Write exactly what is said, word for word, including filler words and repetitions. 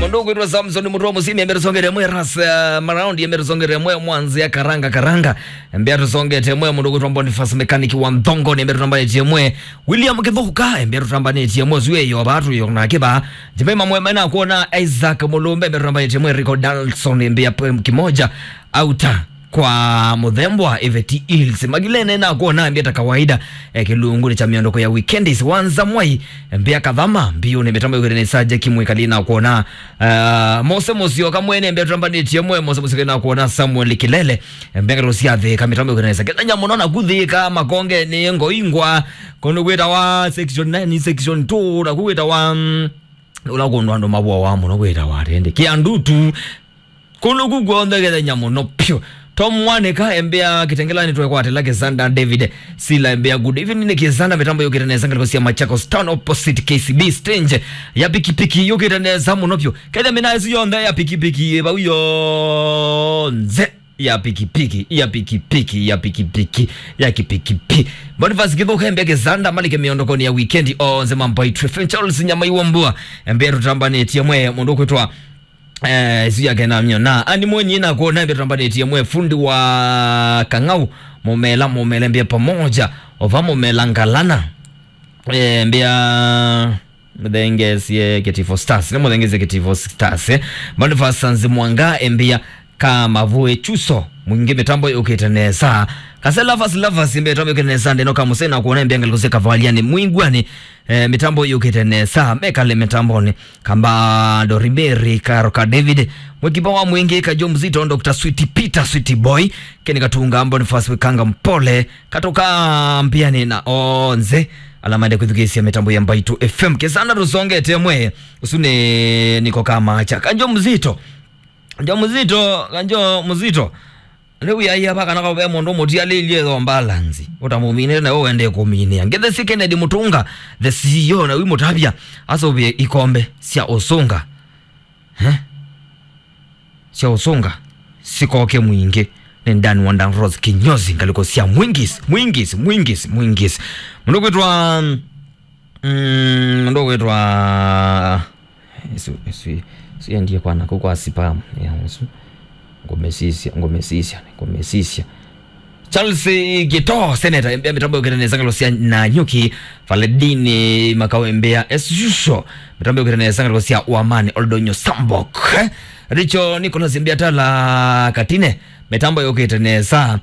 Mũndũ ũkwĩtwa Samson Mũtũa Mũsimi, embea tũsongete mwe. Ras, uh, Maraundi, embea tũsongete mwe. Mwanzia Karanga Karanga, embea tũsongete mwe. Mũndũ ũkwĩtwa Boniface Mechanic wa Nthongo, embea tũtambanĩtie mwe. William Kĩthũka, embea tũtambanĩtie mwe. Zue yo batu yo na kiba. Jemima mwe mena kuona Isaac Mulumbe, embea tũtambanĩtie mwe. Rico Dalson, embea pwe kimoja. Auta kwa mũthembo wa Iveti Hills. Magilene na kuona mbia ta kawaida, eh, kĩlungu cha miondoko ya weekends. Wanza Mwai, mbia Kathama, mbiu nĩ mĩtambo yũkĩte nĩ Saja Kimwikali na kuona, eh, Mose Musyoka mwene mbia tũtambanĩtie mwe. Mose Musyoka na kuona Samuel Kilele, mbia ngatũ sya Thika, mĩtambo yũkĩte nĩ Saja. Kenya mũno na kuthika makonge nĩ ngoingwa, kũndũ kwĩtawa section nine, section two, na kwĩtawa, mm, ũla kũndũ andũ mavoawa mũno kwĩtawa atende. Kĩandutu, kũndũ kũ kw'onthe kethenya mũno pyũ. Tom Mwanĩka, embea Kĩtengelani twekwatĩla Kĩsanda. David Sila, embea good evening Kĩsanda, mĩtambo yũkĩte nesa ngalĩko sya Machakos Town opposite K C B stage. Ya pikipiki yũkĩte nesa mũno pyũ. Ketha mĩna ĩsu yonthe ya pikipiki, vau yonthe ya pikipiki, ya pikipiki, ya pikipiki, ya kipikipiki. Boniface Kĩthũka, embea Kĩsanda, malike mĩondokoni ya weekend, onse mambo itwe. Charles Nyamai wa Mbua, embea tũtambanĩtie mwe. Mũndũ kwĩtwa Eh, isu yake na mio. Na ani mwenyi na kuona mbia tũtambanĩtie mwe. Fundi wa Kang'au, Mumela, Mumela mbia pamoja. Ova Mumela Ngalana. Eh, mbia mũthengesie Kitivo Stars. Nĩ mũthengesie Kitivo Stars, eh. Boniface Sanzi Mwanga, embia ka Mavue Chuso. Mwingi mĩtambo yũkĩte nesa. Kase Lovers, Lovers, mbia mĩtambo yũkĩte nesa. Ndeno ka Musena kuona mbia ngalĩko sya Kavaliani. Mwingwani, eh, mĩtambo yũkĩte nesa. Mekale mĩtamboni. Kamba Dorimeri, Karo ka David, Mwekipa wa Mwingi, Kajo Mzito, Doctor Sweet Peter, Sweet Boy, Kenny Katunga, Boniface Wekanga Mpole, Katoka Mpiani na onse ala maende kwĩthukĩĩsya mĩtambo ya Mbaitu F M. Kĩsanda tũsongete mwe, ũsu nĩ Niko Kamacha. Kajo Mzito, Kajo Mzito, Kajo Mzito. Rĩu yaia va kana ve mũndũ mũtialĩilye yo balance, ũtamũminĩte nawe wendee kũminĩa. Ngĩthesye Kennedy Mũtũnga, the C E O, na wĩ mũtavya, asũvĩe ikombe sya ũsũnga. Eh? Sya ũsũnga sikoke Mwingi. Nĩ Dan wa Dan Rose kinyozi ngalĩko sya Mwingis, Mwingis, Mwingis, Mwingis. Mũndũ kwĩtwa, mm, mũndũ kwĩtwa Isu, isu, isu yendie kwa naku kwa spam. Ya, isu. Ngũmĩsisya, ngũmĩsisya, ngũmĩsisya. Charles Gito, Senator, embea mĩtambo yũkĩte nesa ngalĩko sya Nanyuki, Valedini Makau embea, as usual, mĩtambo yũkĩte nesa ngalĩko sya Wamani, Oldonyo Sambok. Eh? Richo Nicholas embea Tala Katine, mĩtambo yũkĩte nesa.